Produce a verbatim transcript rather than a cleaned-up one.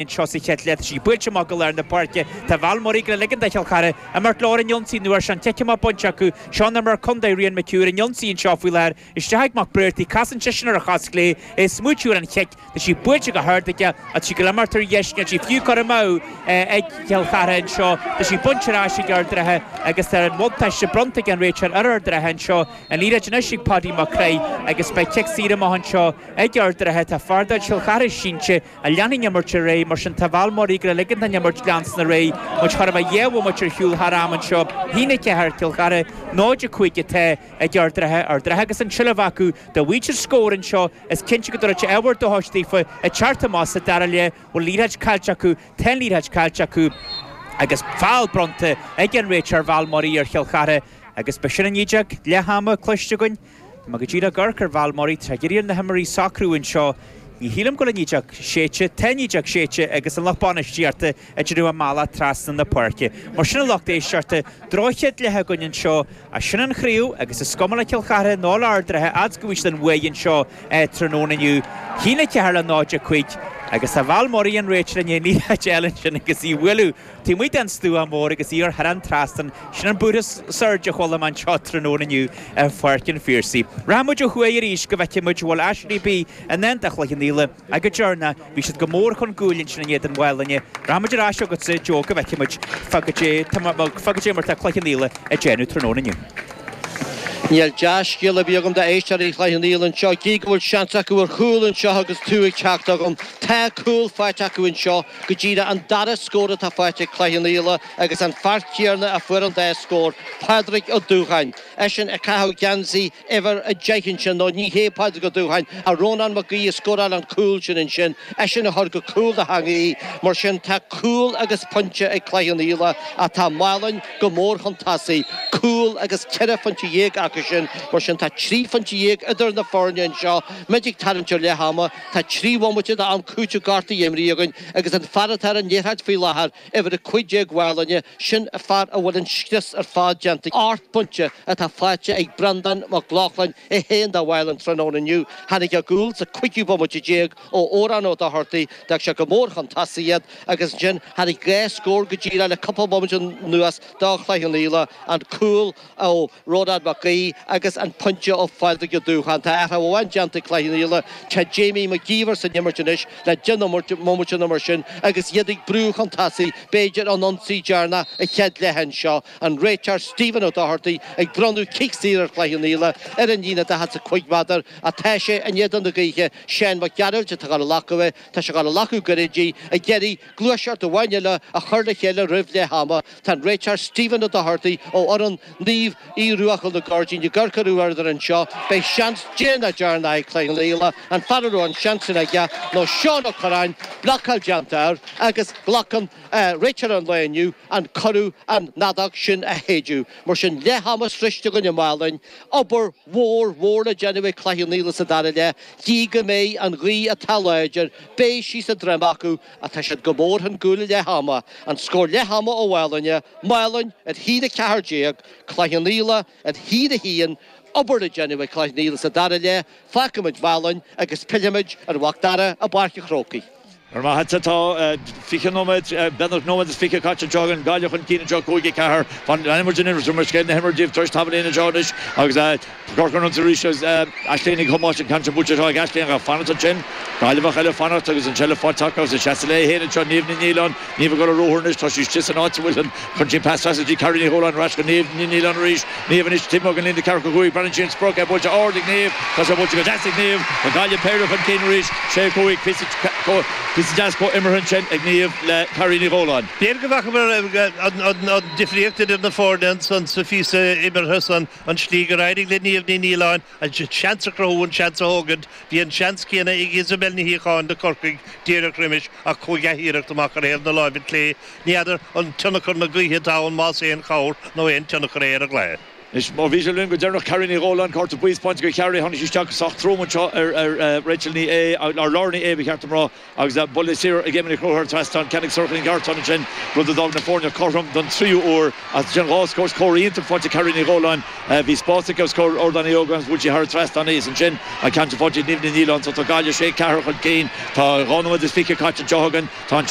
Anseo sa chéad leath, tá sí buailte amach go lár na páirce. Tá Val Murray ag ligean do Chill Chartha imirt leo ar an ionsaí an uair seo. An cic amach bainte acu. Seo an imreoir contae Rian McHugh ar an ionsaí anseo faoi láthair. Isteach ag Mac Briartaigh. Casann seisean ar a chos chlé. É ag smaoitiú ar an chic. Tá sí buailte go hard aige ach tá sí ag imeacht ar dheis. Níl sí fiú curtha amú ag Cill Chartha anseo. Tá sí bainte ar ais ag Ard an Rátha agus tá an bhuntáiste bronnta ag an réiteoir ar Ard an Rátha anseo. An liathróid anois ag Paddy Mac Craith agus beidh cic saor amach anseo ag Ard an Rátha. Tá fear de Chill Chartha sínte a leanfaidh an imirt ar aghaidh, mar sin tá Val Murray ag ligean don imirt leanstan ar aghaidh. Muid chóir a bheith dhá bhomaite ar shiúl thar am anseo. haon a ceathair Cill Chartha, náid a cúig atá ag Ard an Rátha. Ard an Rátha agus an tseilbh acu dá bhfaigheadh siad scór anseo is cinnte go dtabharfadh sé ábhar dóchais daofa ag teacht amach sa dara leath. Bhfuil liathróid caillte acu? Tá an liathróid caillte acu agus feall bronnta ag an réiteoir Val Murray ar Chill Chartha agus b'shin an fheadóg leath ama cloiste againn. Tá mé go díreach ag amharc ar Val Murray, tá ag iarraidh na himreoirí socrú anseo. Ní shílim go bhfuil an fheadóg séidte, tá an fheadóg séidte agus an lucht bainistíochta ag déanamh a mbealach trasna na páirce. Mar sin a lucht éisteachta, droch-chéad leath againn anseo, ach sin an chraobh agus is cuma le Cill Chartha nó le Ard an Rátha fhad is go bhfaighidh siad an bhuaidh anseo tráthnóna inniu. haon a ceathair le náid a cúig agus tá Val Murray an réiteoir i ndiaidh liathróid a fháil ansin agus í a bhualadh taobh amuigh den stua mór agus í thar an trasnán. Sin an búrtha surge a chuala mé anseo tráthnóna inniu ar Pháirc an Phiarsaigh. Rachaidh muid ó thuaidh arís go bhfeicfidh muid an bhfuil aiséirí ar bith i ndán do Chloich Cheann Fhaola ach go deireanach bhí siad go mór chun cúil ansin in éadan Mhaigh Line. Rachaidh muid ar ais chugatsa Joe go bhfeicfidh muid fá goidé mar tá Cloich Cheann Fhaola ag déanamh tráthnóna inniu. Níl dea-scéal ar bith agam d'éisteoirí Chloich Cheann Fhaola anseo, gí go bhfuil seans acu ar chúl anseo agus tú ag teacht agam. Tá cúl faighte acu anseo, go díreach an dara scór atá faighte ag Cloich Cheann Fhaola agus an fear céanna a fuair an dá scór, Pádraig Ó Dúcháin. Eisean ag caitheamh geansaí uimhir a deich ansin, nó ní hé Pádraig Ó Dúcháin, ach Rónán Mac Aoidh a scóráil an cúl sin ansin, eisean a chuir go cúl na heangaí. Mar sin tá cúl agus pointe ag Cloich Cheann Fhaola ach tá Málainn go mór chun tosaigh, cúl agus ceithre phointe dhéag acu sin. Mar sin tá trí phointe dhéag idir na foirne anseo. Muid ag tarraingt ar leath ama, tá trí bhomaite d'am cúitimh gortaithe imrithe againn agus an fear atá ar an liathróid faoi láthair, uimhir a cúig déag Mhálainne, sin an fear a bhfuil an scrios ar fad déanta. Ocht bpointe atá faighte ag Breandán Mac Lochlainn é féin do Mhálainn tráthnóna inniu. Tháinig a gcúl sa cúigiú bomaite déag ó Odhrán Ó Dochartaigh, d'fhág sé go mór chun tosaigh iad agus ansin tháinig dhá scór go díreach le cúpla bomaite anuas do Chloich Cheann Fhaola, an cúl ó Rónán Mac Aoidh agus an pointe ó Phádraig Ó Dúcháin. Tá athrú amháin déanta ag Cloich Cheann Fhaola, tá Jamie Mac Íomhair san imirt anois le deich mbomaite nó mar sin agus iad ag brú chun tosaigh, b'fhéidir an ionsaí deireanach sa chéad leath anseo. An réiteoir Stephen Ó Dochartaigh ag bronnadh cic saor ar Chloich Cheann Fhaola ar an líne daichead is a cúig méadar ach tá sé in éadan na gaoithe. Seán Mac Gearailt atá ag gabháil a ghlacadh é. Tá sé ag gabháil a ghlacadh gairid di, ag iarraidh gluaiseacht amháin eile a chur le chéile roimh leath ama. Tá an réiteoir Stephen Ó Dochartaigh ó fhoireann Naomh Aodh Ruadh Chúil na Gairdíní i gCorca Dhuibhne anseo. Beidh seans déanach deireanach ag Cloich Cheann Fhaola. An fear a raibh an seans sin aige ná Seán Ó Curráin, blocáil déanta air agus glacann réiteoir an lae inniu an cuireadh an fheadóg sin a shéideadh. Mar sin, leath ama sroichte againn i Málainn. Obair mhór mhór le déanamh ag Cloich Cheann Fhaola sa dara leath. Gí go mbeidh an ghaoth atá láidir, beidh sí sa droim acu ach tá siad go mór chun cúil ag leath ama. An scór leath ama ó Mhálainn, Málainn ar haon a ceathair déag, Cloich Cheann Fhaola ar haon a haon, obair le déanamh ag Cloich Cheann Fhaola sa dara leath, fágfaimid Málainn agus pillfimid ar Mhac Dara i bPáirc an Chrócaigh. Ar maith atá fiche nóiméad, beagnach nóiméad is fiche caite anseo againn, Gaillimh chun cinn anseo cúig a ceathair. Fan an imirt in imirt mar scéal na himeartha díobh tar éis tamaillín anseo anois agus Corcaigh ar an ionsaí arís agus Aisling Ní Thomáis an ceann sin buailte anseo ag Aisling ach fanacht ansin. Gaillimheach eile fanacht agus an tseilbh faighte acu agus ag seasamh léi féin anseo Niamh Ní Nialláin. Niamh ag dul ar ruathar anois, tá sí istigh san áit a bhfuil an chun sin pas trasna go dtí Carrie Ní Dhóláin ar ais go Niamh Ní Nialláin arís. Niamh anois taobh amuigh den líne ceathracha cúig, breathnaíonn sí ar an sprioc, é buailte ard ag Niamh, tá sé buailte go deas ag Niamh, tá Gaillimh péire chun cinn arís, sé cúig, píosa píosa deas comhimeartha ansin ag Niamh le Carrie Ní Dhóláin. B'fhéidir go bhfeicfear an difríocht idir na foirne ansan sa phíosa imeartha san, an tslí gur éirigh le Niamh Ní Nialláin an seans a chruthú, an seans a thógaint. Bhí an seans céanna ag Isabel Ní Shíocháin do Chorcaigh díreach roimis ach chuaigh a hiarracht amach ar thaobh na láimhe clé. Ní fheadar an tionchar na gaoithe atá ann más aon chabhair nó aon tionchar é ar an gcluiche. Anois má bhí sé linn go deireanach Carrie Ní Dhóláin cárta buí spáinte do Chiarraí tháinig sí isteach sách trom anseo ar ar Rachel Ní Aodha ar Laura Ní Aodha ba cheart dom rá agus buille saor ag Emma Ní Chonchúir thar an trasnán ceann ag Sorcha Ní Gheartáin ansin rud a d'fhág na foirne cothrom don tríú huair as sin dhá scór scór iontach faighte ag Carrie Ní Dhóláin bhí spás aici os comhair Ardán Uí Ógáin agus bhuail sí thar an trasnán í is ansin an ceann sin faighte ag Niamh Ní Nialláin so tá Gaillimh sé ceathair chun cinn tá dhá nóiméad is fiche caite anseo againn tá an